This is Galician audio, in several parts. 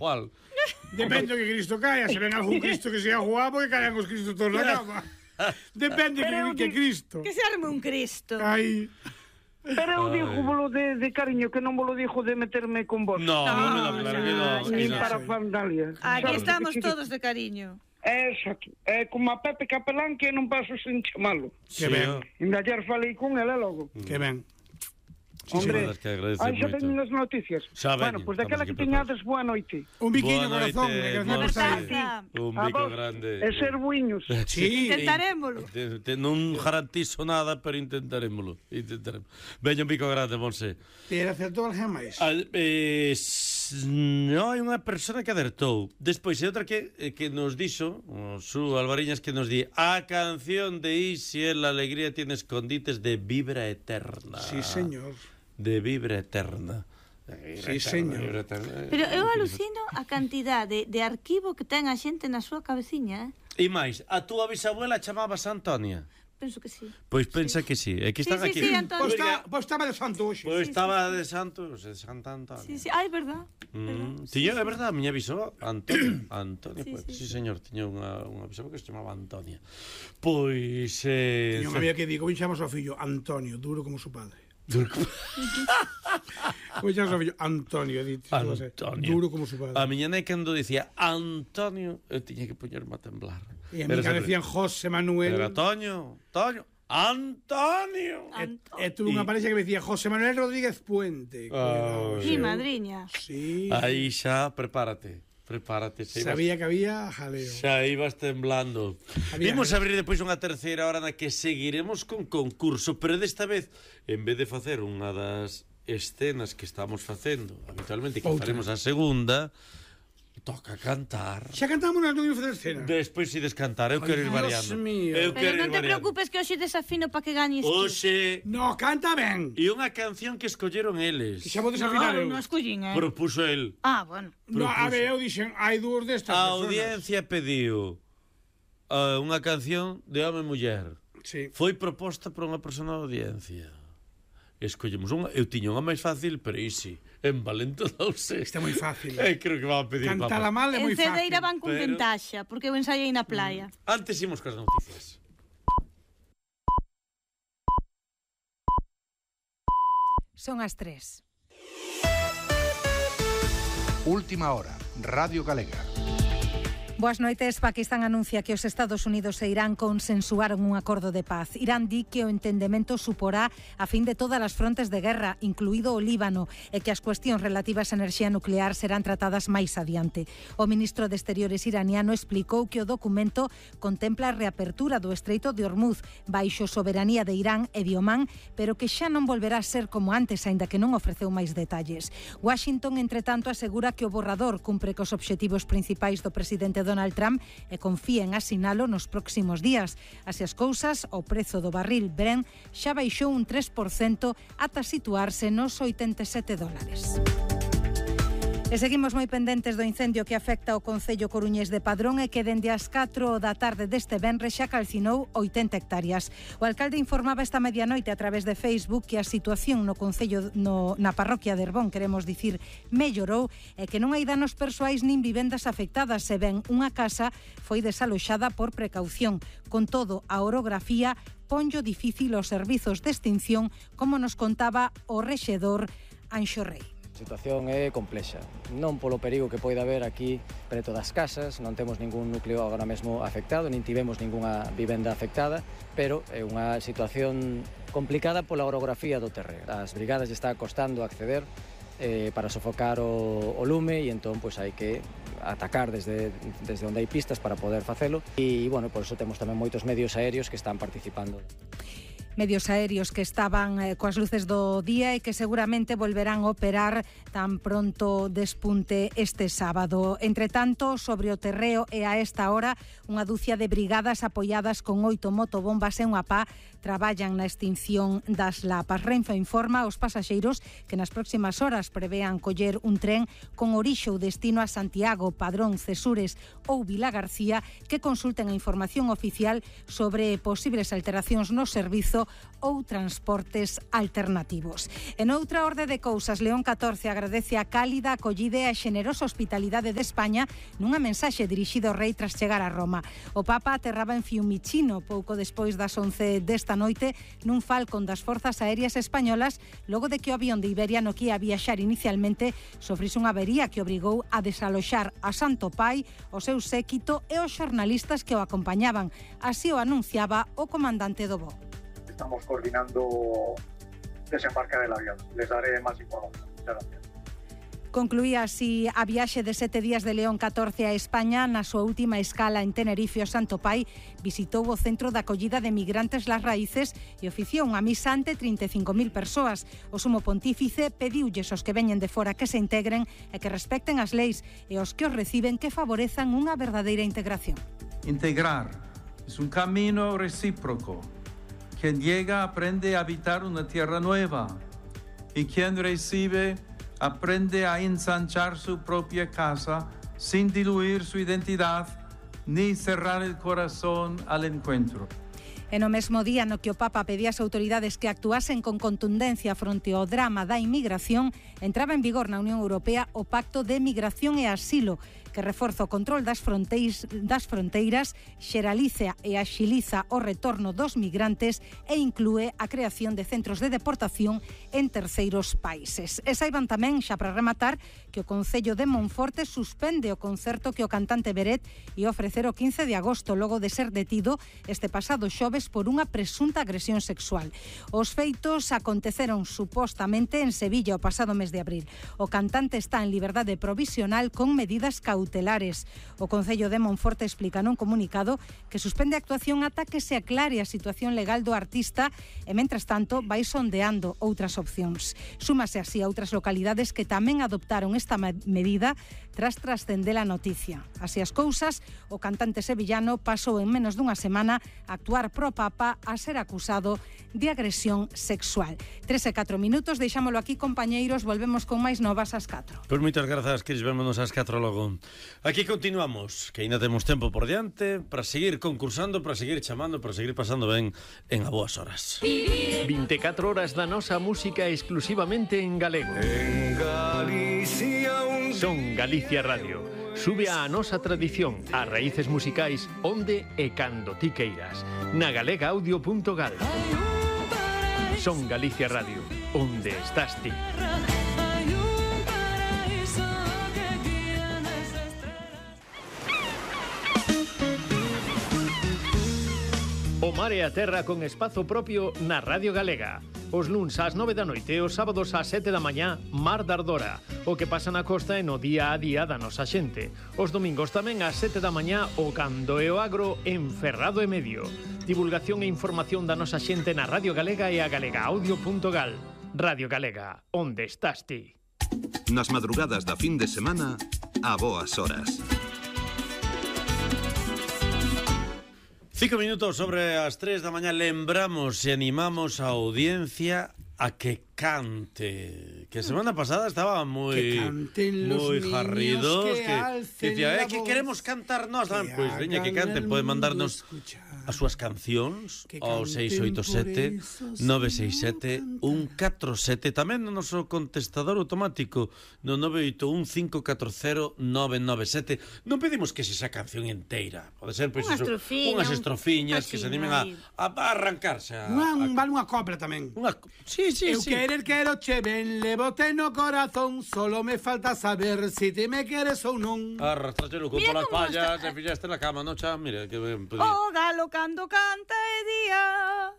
igual. Depende do que Cristo caia. Se ven algún Cristo que sea guapo, que caian os Cristos todos na cama. Depende que Cristo. Que se arme un Cristo. Ai. Pero eu digo bolo de cariño, que non volo digo de meterme con vos. No, claro que no. Ni para fandalia. Aquí estamos todos de cariño. Exacto. É como a Pepe Capelán, que non paso sen chamalo. Que ben. Ainda ayer falei con ela logo. Que ben. Hombre, xa veñen as noticias. Bueno, pois daquela que teñades boa noite. Un biquiño corazón. Un bico grande. E ser buiños. Sí. Intentarémolo. Non garantizo nada, pero intentarémolo. Veña un bico grande, Monse. Pero acertou alguén máis? Non, hai unha persona que acertou. Despois, hai outra que nos dixo, o Su Alvariñas, que nos di: a canción de Isi é La alegría tiene escondites de Vibra Eterna. Sí, señor. De Vibra Eterna. Sí, señor. Pero eu alucino a cantidade de arquivo que ten a xente na súa cabeciña, E máis, a túa bisabuela chamábase Antonia? Penso que sí. Pois pensa que sí. É que están aquí. Sí, Antonio. Pois estaba de santo hoxe. Pois estaba de Santos, de Santa Antonia. Sí, é verdad. Tiño, é verdad, a miña bisoba Antonia, sí, señor, tiña unha bisoba que se chamaba Antonia. Pois tiña unha amiga que digo, vinxamos ao fillo Antonio, duro como su padre. Vinxamos ao fillo Antonio, duro como su padre. A miña nai cando dicía Antonio, eu tiña que poñerme a temblar. E a mí que decían José Manuel. Era Toño, Antonio. E tuve unha parexa que me decía José Manuel Rodríguez Puente. Mi madriña. Sí. Aí xa, prepárate. Sabía que había jaleo. Xa ibas temblando. Vimos abrir depois unha terceira hora na que seguiremos con concurso, pero desta vez, en vez de facer unha das escenas que estamos facendo habitualmente, que faremos a segunda, toca cantar. Xa cantamos nas non facer escena. Despois si descantar, eu quero ir variando. Pero non te preocupes que hoxe desafino para que gañes ti. Oxe. No, canta ben. E unha canción que escolleron eles. Que xa vou desafinar eu. Non escollín, Propuso el. Bueno. No, a ver, eu dixen, hai dúas destas personas. A audiencia pediu unha canción de home e muller. Sí. Foi proposta por unha persona da audiencia. Escollemos unha. Eu tiña unha máis fácil, pero Isi envalentonouse. Está moi fácil. Creo que va a pedir papá. Cantala mal é moi fácil. En Cedeira van con ventaxa, porque eu ensaiei na playa. Antes imos cas noticias. Son as 3. Última hora, Radio Galega. Boas noites. Paquistán anuncia que os Estados Unidos e Irán consensuaron un acordo de paz. Irán di que o entendemento suporá a fin de todas as frontes de guerra, incluído o Líbano, e que as cuestións relativas á enerxía nuclear serán tratadas máis adiante. O ministro de Exteriores iraniano explicou que o documento contempla a reapertura do Estreito de Hormuz baixo soberanía de Irán e de Omán, pero que xa non volverá a ser como antes, aínda que non ofreceu máis detalles. Washington, entretanto, asegura que o borrador cumpre cos obxectivos principais do presidente Donald Trump e confía en asinalo nos próximos días. Así as cousas, o prezo do barril Brent xa baixou un 3% ata situarse nos $87. E seguimos moi pendentes do incendio que afecta o concello coruñés de Padrón e que dende as 4 da tarde deste venres xa calcinou 80 hectáreas. O alcalde informaba esta medianoite a través de Facebook que a situación no concello na parroquia de Herbón, queremos dicir, mellorou e que non hai danos persoais nin vivendas afectadas, se ben unha casa foi desaloxada por precaución. Con todo, a orografía ponllo difícil os servizos de extinción, como nos contaba o rexedor Anxo Rei. A situación é complexa, non polo perigo que poida haber aquí preto das casas, non temos ningún núcleo agora mesmo afectado, nin tivemos ningunha vivenda afectada, pero é unha situación complicada pola orografía do terreno. As brigadas está costando acceder para sofocar o lume e entón pois hai que atacar desde onde hai pistas para poder facelo e, bueno, por iso temos tamén moitos medios aéreos que están participando. Medios aéreos que estaban coas luces do día e que seguramente volverán a operar tan pronto despunte este sábado. Entre tanto, sobre o terreo e a esta hora, unha dúcia de brigadas apoiadas con 8 motobombas e unha pá traballan na extinción das lapas. Renfe informa aos pasaxeiros que nas próximas horas prevean coller un tren con orixe ou destino a Santiago, Padrón, Cesures ou Vilagarcía, que consulten a información oficial sobre posibles alteracións no servizo xeito ou transportes alternativos. En outra orde de cousas, León XIV agradece a cálida acollida e a xenerosa hospitalidade de España nunha mensaxe dirixida ao rei tras chegar a Roma. O Papa aterraba en Fiumicino pouco despois das 11 desta noite nun Falcon das Forzas Aéreas Españolas, logo de que o avión de Iberia no que ia viaxar inicialmente sofrise unha avería que obrigou a desaloxar a Santo Pai, o seu séquito e os xornalistas que o acompañaban. Así o anunciaba o comandante do voo. Estamos coordinando desembarque del avión. Les daré más información. Muchas gracias. Concluía así a viaxe de 7 días de León XIV a España. Na súa última escala en Tenerife, o Santo Pai visitou o centro de acollida de migrantes Las Raíces e oficiou unha misa ante 35.000 persoas. O sumo pontífice pediulles aos que veñen de fora que se integren e que respecten as leis e aos que os reciben que favorezan unha verdadeira integración. Integrar es un camino recíproco. Quien llega aprende a habitar una tierra nueva y quien recibe aprende a ensanchar su propia casa sin diluir su identidad ni cerrar el corazón al encuentro. E no mesmo día no que o Papa pedía ás autoridades que actuasen con contundencia fronte ao drama da inmigración, entraba en vigor na Unión Europea o Pacto de Migración e Asilo, que reforza o control das fronteiras, xeraliza e axiliza o retorno dos migrantes e inclúe a creación de centros de deportación en terceiros países. E saiban tamén, xa para rematar, que o Concello de Monforte suspende o concerto que o cantante Beret ia ofrecer o 15 de agosto, logo de ser detido este pasado xoves por unha presunta agresión sexual. Os feitos aconteceron supostamente en Sevilla o pasado mes de abril. O cantante está en liberdade provisional con medidas cautelares. O Concello de Monforte explica nun comunicado que suspende a actuación ata que se aclare a situación legal do artista e, mentras tanto, vai sondeando outras opcións. Súmase así a outras localidades que tamén adoptaron esta medida tras trascender a noticia. Así as cousas, o cantante sevillano pasou en menos dunha semana a actuar pro Papa a ser acusado de agresión sexual. 3 e 4 minutos, deixámolo aquí, compañeiros, volvemos con máis novas ás 4. Pois moitas grazas, Cris, vémonos ás 4 logo. Aquí continuamos, que ainda temos tempo por diante para seguir concursando, para seguir chamando, para seguir pasando ben en a boas horas. 24 horas da nosa música exclusivamente en galego. En Galicia Son Galicia Radio. Sube a nosa tradición, as raíces musicais onde e cando ti queiras. Na galegaaudio.gal. Son Galicia Radio, onde estás ti. O mar e a terra con espazo propio na Radio Galega. Os luns ás 9 da noite e os sábados ás 7 da mañá, Mar da Ardora. O que pasa na costa e no día a día da nosa xente. Os domingos tamén ás 7 da mañá, o Cando e o Agro en Ferrado e Medio. Divulgación e información da nosa xente na Radio Galega e a galegaaudio.gal. Radio Galega, onde estás ti? Nas madrugadas da fin de semana, a boas horas. 5 minutos sobre as 3 da mañá. Lembramos e animamos a audiencia a que cante. Que a semana pasada estaba moi jarridos, que decía, que queremos cantar nós tamén. Pois veña que canten, pode mandarnos as súas cancións ao 687-967-147. Tamén no noso contestador automático no 981-540-997. Non pedimos que sexa canción inteira. Pode ser, pois, unhas estrofiñas que se animen a arrancarse. Vale unha copla tamén. Sí. Eu quero che ben, levote no corazón. Solo me falta saber si te me queres ou non. Arrastraste o cupo las pallas, te fillaste na cama, non, xa? Mira, que ben podía. O galo cando canta é día,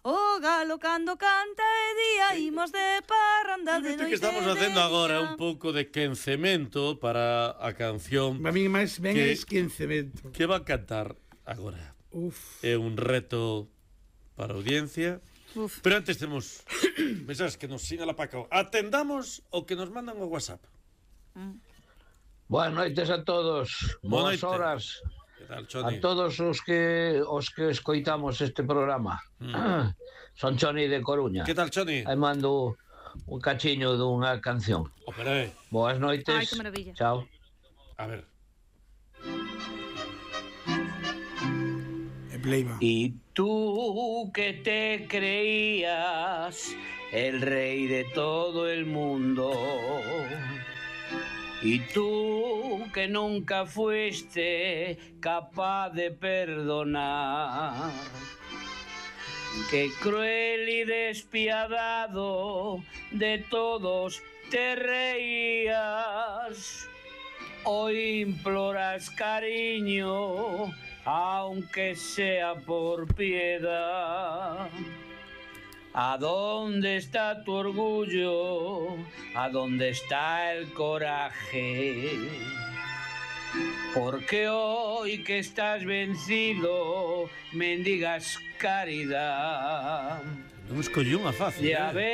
o galo cando canta é día, imos de parranda de noite. Que estamos facendo agora un pouco de quencemento para a canción. A mí máis ben é quencemento. Que va a cantar agora. É un reto para a audiencia. Pero antes temos mensajes que nos sinala Paco. Atendamos o que nos mandan o WhatsApp. Boas noites a todos. Boas horas. Tal, Choni? A todos os que escoitamos este programa. Son Choni de Coruña. Que tal, Choni? Aí mando un cachiño dunha canción. Boas noites. Ai, que maravilla. Chao. A ver. Leiva. Y tú que te creías el rey de todo el mundo, y tú que nunca fuiste capaz de perdonar, que cruel y despiadado de todos te reías, hoy imploras cariño, aunque sea por piedad. ¿A dónde está tu orgullo? ¿A dónde está el coraje? Porque hoy que estás vencido, mendigas caridad. Non escollí unha fácil. Ya ves.